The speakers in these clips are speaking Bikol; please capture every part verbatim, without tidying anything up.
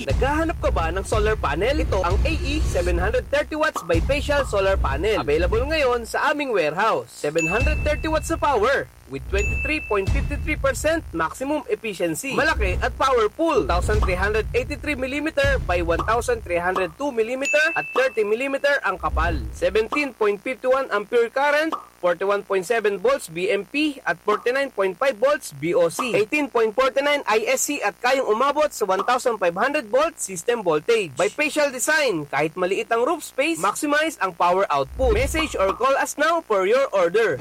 Naghahanap ka ba ng solar panel? Ito ang A E seven hundred thirty watts bifacial solar panel. Available ngayon sa aming warehouse. Seven hundred thirty watts na power with twenty-three point five three percent maximum efficiency. Malaki at powerful. Two thousand three hundred eighty-three millimeter by one thousand three hundred two millimeter at thirty millimeter ang kapal. Seventeen point five one ampere current, forty-one point seven volts B M P at forty-nine point five volts B O C, eighteen point forty-nine I S C at kayang umabot sa one thousand five hundred volt system voltage. Bifacial design, kahit maliit ang roof space, maximize ang power output. Message or call us now for your order.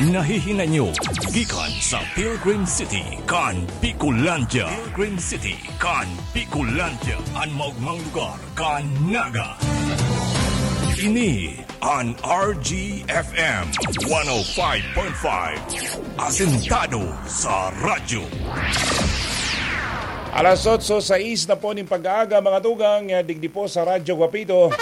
Nahihinay nyo gikan sa Pilgrim City, kan Bicolandia. Pilgrim City, kan Bicolandia, an maogmang lugar kan Naga. Ini an R G F M one oh five point five, asentado sa radyo. Alas otso sais na po ning pag-aaga, mga tugang, eh, digdi po sa Radyo Guapito.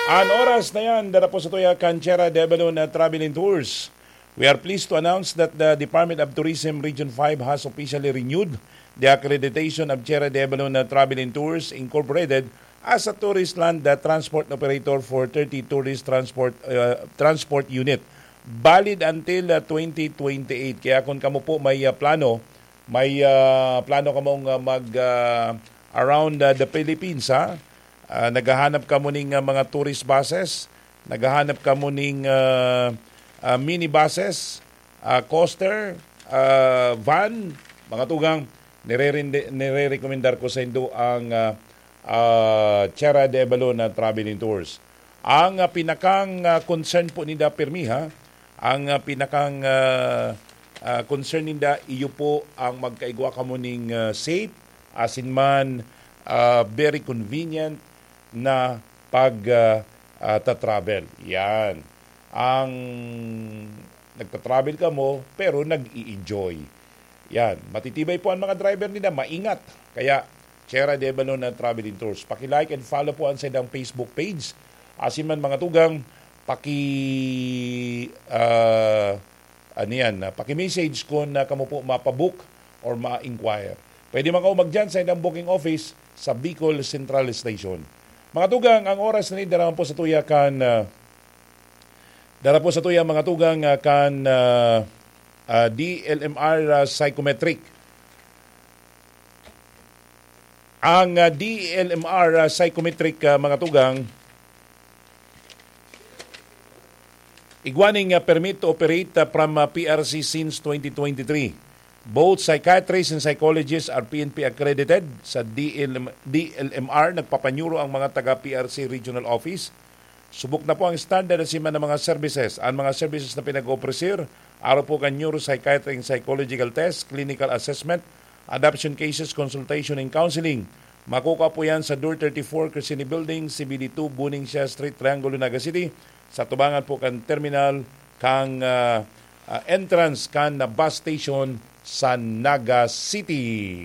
An oras na yan, dara po sa tuya kan Sierra de Avalon, uh, Travel and Tours. We are pleased to announce that the Department of Tourism Region five has officially renewed the accreditation of Sierra de Avalon, uh, Travel and Tours Incorporated as a tourist land, uh, transport operator for thirty tourist transport, uh, transport unit, valid until, uh, twenty twenty-eight. Kaya kung kamo po may, uh, plano, may, uh, plano kamong, uh, mag, uh, around, uh, the Philippines, ha? Uh, naghahanap kamo ning, uh, mga tourist buses, naghahanap kamo ning, uh, uh, minibuses, uh, coaster, uh, van, mga tugang, nirerinde-, nirerekomendar ko sa indo ang, uh, uh, Sierra de Avalon na Travel and Tours. Ang, ah, pinakang, ah, concern po ninda pirmi, ha? Ang, ah, pinakang, ah, ah, concern ninda, iyo po ang magkaigwa kamo ning, ah, safe, asin man, ah, very convenient na pag, ah, ah, ta-travel. Yan. Ang nagta-travel kamo, pero nag-i-enjoy. Yan. Matitibay po ang mga driver nila, maingat. Kaya, Sierra de Avalon na Travel and Tours. Paki-like and follow po ang saindang Facebook page. Asin man, mga tugang, paki, ah, ano yan, ah, paki-message kung, ah, kamo po mapabook or ma-inquire. Pwede man kayo magdyan sa ilang booking office sa Bicol Central Station. Mga tugang, ang oras na ni, dara po sa tuya kan, ah, dara po sa tuya, mga tugang, ah, kan, ah, ah, D L M R, ah, Psychometric. Ang, ah, D L M R, ah, Psychometric, ah, mga tugang, igwa ning, ah, permit to operate, ah, from, ah, P R C since twenty twenty-three. Both psychiatrists and psychologists are P N P accredited. Sa D L M, D L M R, nagpapanyuro ang mga taga P R C Regional Office. Subok na po ang standard asin man ang mga services. Ang mga services na pinag-opresir, arog po kan neuropsychiatric and psychological test, clinical assessment, adoption cases, consultation and counseling. Makukuha po yan sa Door thirty-four, Crescini Building, C B D two, Buning Siya Street, Triangulo, Naga City, sa tubangan po kan terminal, kan, ah, ah, entrance kan bus station sa Naga City.